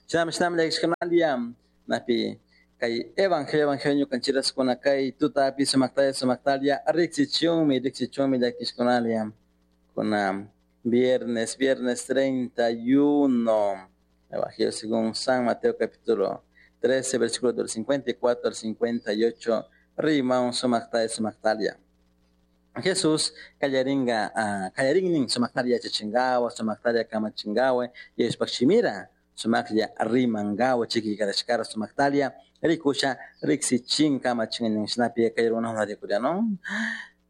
Shinami shinami llakishkunalia napi kay evangelio evangelio ñukanchiraskuna kay tutapi sumaktalla sumaktalla riksichunmi riksichunmi llakishkunalia kuna viernes viernes 31 Evangelio según San Mateo capítulo 13 versículo del 54 al 58 rimaun sumaktalla sumaktalia Jesús kallaringa kallarinnin sumaktalla yachachingawa sumaktalla kamachingawa Diospaj shimira sumaklla rimangawa chikikarashkara sumaktalia rikusha riksichin kamachin shinapi kay runakuna rikuriano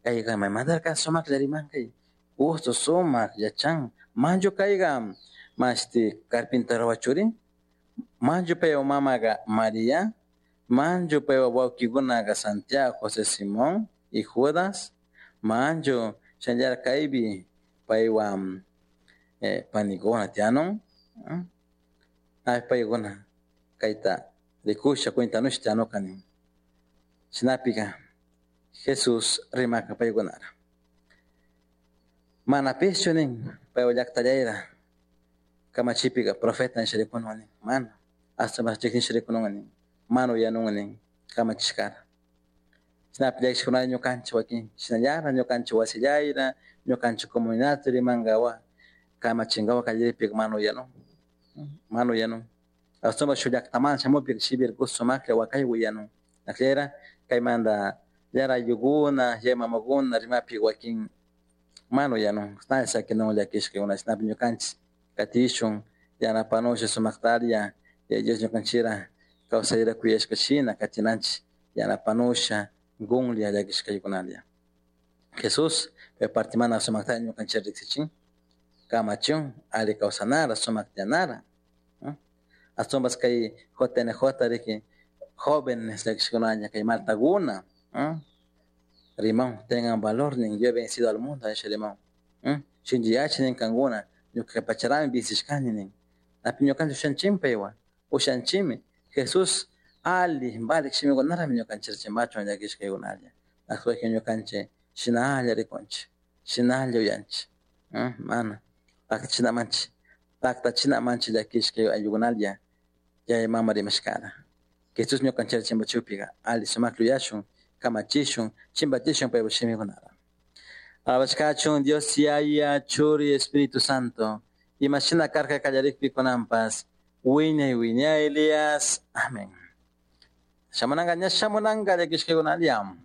kayqa maymantarka sumaklla riman kay gusto sumak yachan manchu kayqa mashti carpintero churi manchu paypa mamaqa María manchu paypa wawkikunaqa Santiago José Simón y Judas manchu shinallara kaypi paywan panikuna tiyanun paykuna kayta rikusha cuentanusha tiyanuka nin shinapika Jesús rimaka paykunara manapishchu nin paypa llaktallayra kamachipika profeta nisha rikunun nin mana ashtawanpish chiknisha rikunun nin mana uyanun nin kamachishkara shinapi llakishkunalla ñukanchik wakin shinallara ñukanchik wasillayra ñukanchik comunidad rimankawa kamachinkawa kallaripika mana uyanun mana uyanun ashtawanpish shuk llaktamanta shamukpika shipirkush sumaklla wakay uyanun akllayra kaymanta yara ayllukuna yaya mamakuna rimapika wakin mana uyanun na sakinun llakishkakuna shinapi ñukanchik katishun yanapanusha sumaktaria Yaya Dios ñukanchikra kawsayra kuyashka shina katinanchik yanapanusha gunlla llakishkaykunalla Jesús pay partimanta sumakta ñukanchik riksichin kamachun alli kawsanara sumak tiyanara ashtawanpas kay JNJ riki jóvenes llakishkunaña kay maltakuna riman tengan valor nin yo he vencido al mundo nisha riman shinchiyachi nin kankuna ñuka pacharami vencishkani nin napi ñukanchik ushanchikmi paywan ushanchikmi Jesús alli valik shimikunarami ñukanchik chimbachun llakishkaykunalla ashtawanka ñukanchik shinalla rikunchik shinalla uyanchik mana paktachinamanchik paktachinamanchik llakishka ayllukunalla yaya mama rimashkara Jesús ñukanchik chimbachupika alli sumaklla uyashun kamachishun chimbachishun paypa shimikunara Alabashkachun Dios Yaya Churi Espíritu Santo imashina karka kallarikpi kunanpas wiñay wiñaylias amén shamunanka ña shamunanka llakishkakunalla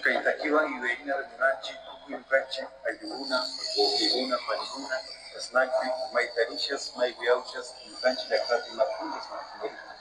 Kaytakiwan yuyarina rimanchik tukuy ñukanchik ayllukuna, wawqikuna, panikuna, chashnakpi mayta rishas maypi yawchas ñukanchik llaktapi ima punlla.